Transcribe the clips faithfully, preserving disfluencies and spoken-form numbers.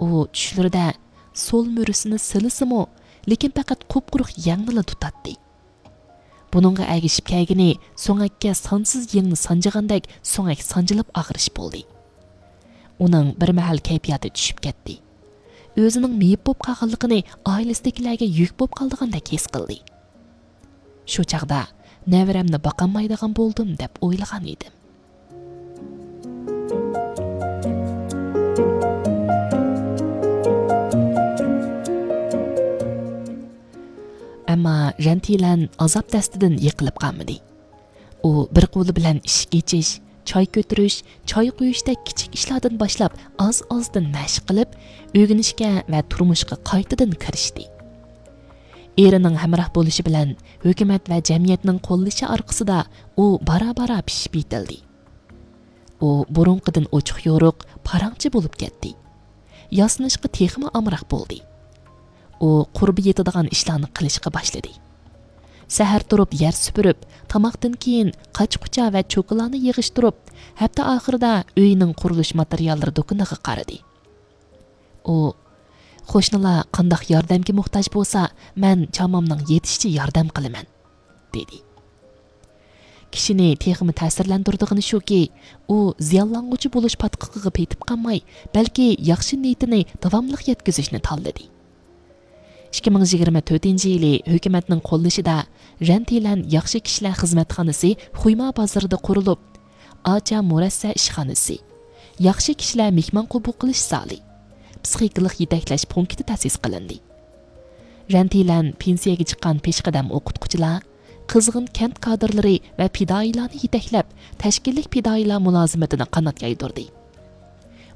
ئۇ چۈشلىرىدە سول مۈرىسىنى سىلىسىمۇ، لېكىن پەقەت قۇپقۇرۇق يەڭنىلا تۇتاتتى. بۇنىڭغا ئەگىشىپ كەلگىنى سۆڭەككە سانسىز يىڭنە سانجىغاندەك سۆڭەك سانجىلىپ ئاغرىش بولدى. ئۇنىڭ بىر مەھەل كەيپىياتى چۈشۈپ كەتتى. ئۆزىنىڭ مېيىپ بولۇپ قالغانلىقىنى ئائىلىسىدىكىلەرگە يۈك بولۇپ قالىدىغاندەك ھېس قىلدى. شۇ چاغدا نەۋرەمنى باقالمايدىغان بولدۇم دەپ ئويلىغان ئىدىم. ئەمما رەنتىلەن ئازاب دەستىدىن يىقىلىپ قالمىدى. ئۇ بىر قولى بىلەن ئىشىك ئېچىش، چاي كۆتۈرۈش، چاي قۇيۇشتەك كىچىك ئىشلاردىن باشلاپ ئاز-ئازدىن مەشىق قىلىپ، ئۆگىنىشكە ۋە تۇرمۇشقا قايتىدىن كىرىشتى. ئېرىنىڭ ھەمراھ بولۇشى بىلەن ھۆكۈمەت ۋە جەمئىيەتنىڭ قوللىشى ئارقىسىدا ئۇ بارا-بارا پىشىپ يېتىلدى. ئۇ بۇرۇنقىدىن ئوچۇق-يورۇق، پاراڭچى بولۇپ كەتتى. ياسىنىشقا تېخىمۇ ئامراق بولدى. ئۇ قۇربى يېتىدىغان ئىشلارنى قىلىشقا باشلىدى. سەھەر تۇرۇپ يەر سۈپۈرۈپ، تاماقتىن كېيىن قاچا-قۇچا ۋە چوكىلارنى يىغىشتۇرۇپ، ھەپتە ئاخىرىدا ئۆيىنىڭ قۇرۇلۇش ماتېرىياللىرى دۇكىنىغا قارىدى. ئۇ، «قوشنىلار قانداق ياردەمگە موھتاج بولسا، مەن چامامنىڭ يېتىشىچە ياردەم قىلىمەن» دېدى. كىشىنى تېخىمۇ تەسىرلەندۈرىدىغىنى شۇكى، ئۇ زىيانلانغۇچى بولۇش پاتقىقىغا پېتىپ قالماي، بەلكى ياخشى نىيىتىنى داۋاملىق يەتكۈزۈشنى تاللىدى. ئىككى مىڭ يىگىرمە تۆتىنچى يىلى ھۆكۈمەتنىڭ قوللىشىدا رەنتىلەن ياخشى كىشىلەر خىزمەتخانىسى خۇيما بازىرىدا قۇرۇلۇپ، ئاچا مۇرەسسە ئىشخانىسى، ياخشى كىشىلەر مېھمان قوبۇل قىلىش زالى، پسىخىكىلىق يېتەكلەش پونكىتى تەسىس قىلىندى. رەنتىلەن پېنسىيەگە چىققان پېشقەدەم ئوقۇتقۇچىلار، قىزغىن كەنت كادىرلىرى ۋە پىدائىيلارنى يېتەكلەپ، تەشكىللىك پىدائىيلار مۇلازىمىتىنى قانات يايدۇردى.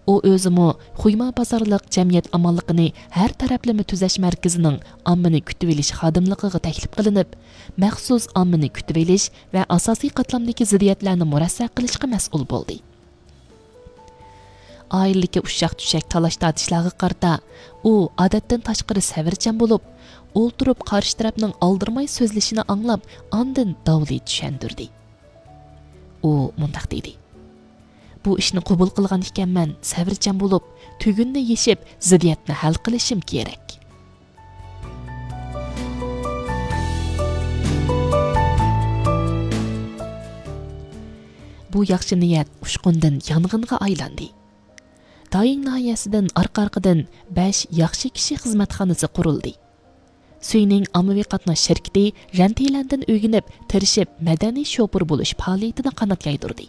ئۇ ئۆزىمۇ خۇيما بازارلىق جەمئىيەت ئامانلىقىنى ھەر تەرەپلىمە تۈزەش مەركىزىنىڭ ئاممىنى كۈتۈۋېلىش خادىملىقىغا تەكلىپ قىلىنىپ، مەخسۇس ئاممىنى كۈتۈۋېلىش ۋە ئاساسىي قاتلامدىكى زىددىيەتلەرنى مۇرەسسە قىلىشقا مەسئۇل بولدى. ئائىلىدىكى ئۇششاق-چۈششەك تالاش-تارتىشلارغا قارىتا، ئۇ ئادەتتىن تاشقىرى سەۋرچان بولۇپ، ئولتۇرۇپ قارشى تەرەپنىڭ ئالدىرىماي سۆزلىشىنى ئاڭلاپ، ئاندىن داۋلى چۈشەندۈردى. ئۇ مۇنداق دېدى: «بۇ ئىشنى قوبۇل قىلغان ئىكەنمەن، سەۋرچان بولۇپ، تۈگۈننى يېشىپ، زىددىيەتنى ھەل قىلىشىم كېرەك.» بۇ ياخشى نىيەت ئۇچقۇندىن يانغىنغا ئايلاندى. دايىڭ ناھىيەسىدىن ئارقا-ئارقىدىن بەش ياخشى كىشى خىزمەتخانىسى قۇرۇلدى. سۈينىڭ ئاممىۋى قاتناش شىركىتى رەنتىلەندىن ئۆگىنىپ، تىرىشىپ مەدەنىي شوپۇر بولۇش پائالىيىتىنى قانات يايدۇردى.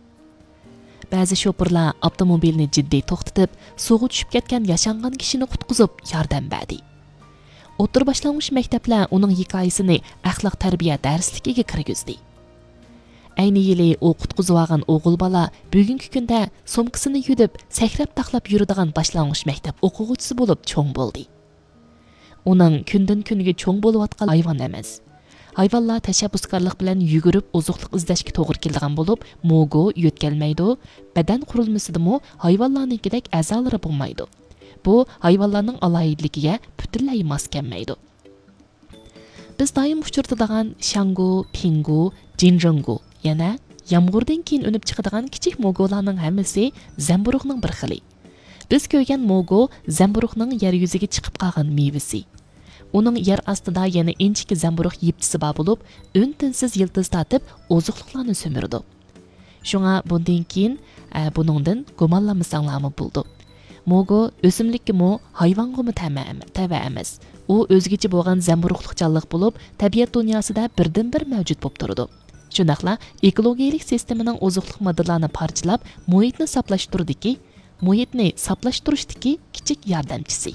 بەزى شوپۇرلار ئاپتوموبىلنى جىددىي توختىتىپ، سۇغا چۈشۈپ كەتكەن ياشانغان كىشىنى قۇتقۇزۇپ ياردەم بەردى. ئوتتۇرا باشلانغۇچ مەكتەپلەر ئۇنىڭ ھېكايىسىنى ئەخلاق تەربىيە دەرسلىكىگە كىرگۈزدى. ئەينى يىلى ئۇ قۇتقۇزۇۋالغان ئوغۇل بالا بۈگۈنكى كۈندە سومكىسىنى يۈدۈپ، سەكرەپ-تاقلاپ يۈرىدىغان باشلانغۇچ مەكتەپ ئوقۇغۇچىسى بولۇپ چوڭ بولدى. ئۇنىڭ كۈندىن-كۈنگە چوڭ بولۇۋاتقان ھايۋان ئەمەس. ھايۋانلار تەشەببۇسكارلىق بىلەن يۈگۈرۈپ ئوزۇقلۇق ئىزدەشكە توغرا كېلىدىغان بولۇپ، موگو يۆتكەلمەيدۇ، بەدەن قۇرۇلمىسىدىمۇ ھايۋانلارنىڭكىدەك ئەزالىرى بولمايدۇ. بۇ ھايۋانلارنىڭ ئالاھىدىلىكىگە پۈتۈنلەي ماس كەلمەيدۇ. بىز دائىم ئۇچرىتىدىغان شاڭگو، پىڭگو، جىنجىڭگو، يەنە يامغۇردىن كېيىن ئۈنۈپ چىقىدىغان كىچىك موگولارنىڭ ھەممىسى زەمبۇرۇغنىڭ بىر خىلى. بىز كۆرگەن موگو زەمبۇرۇغنىڭ يەر يۈزىگە چىقىپ قالغان مېۋىسى. ئۇنىڭ يەر ئاستىدا يەنە ئىنچىكە زەمبۇرۇغ يىپتىسى بار بولۇپ، ئۈن-تىنسىز يىلتىز تارتىپ، ئوزۇقلۇقلارنى سۈمۈرىدۇ. شۇڭا بۇندىن كېيىن، ئە، بۇنىڭدىن گۇمانلانمىساڭلارمۇ بولىدۇ. موگو ئۆسۈملۈككىمۇ، ھايۋانغىمۇ تەمە-، تەۋە ئەمەس. ئۇ ئۆزگىچە بولغان زەمبۇرۇغلۇق جانلىق بولۇپ، تەبىئەت دۇنياسىدا بىردىنبىر مەۋجۇت بولۇپ تۇرىدۇ. شۇنداقلا ئېكولوگىيەلىك سىستېمىنىڭ ئوزۇقلۇق ماددىلارنى پارچىلاپ، مۇھىتنى ساپلاشتۇرىدىكى، مۇھىتنى ساپلاشتۇرۇشتىكى كىچىك ياردەمچىسى.